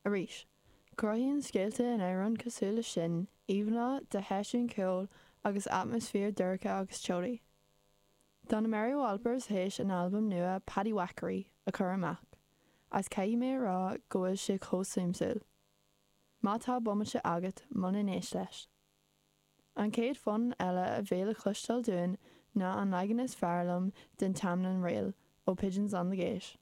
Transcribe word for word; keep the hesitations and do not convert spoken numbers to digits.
Arís, cruthaíonn scéalta in amhráin cosúil leis sin íomhánna de sheisiúin ceoil agus atmaisféar dorcha agus teolaí. Tá na Mary Wallopers théis an albam nua Paddywhackery a chur amach, agus caithfidh mé a rá go bhfuil sé chomh suimiúil. Má tá bomaite agat molaim éist leis. An chéad fonn eile a bheidh le cloisteáil dúinn ná an leagan is fearr liom den Tamlin Reel ó Pigeons on the Gate.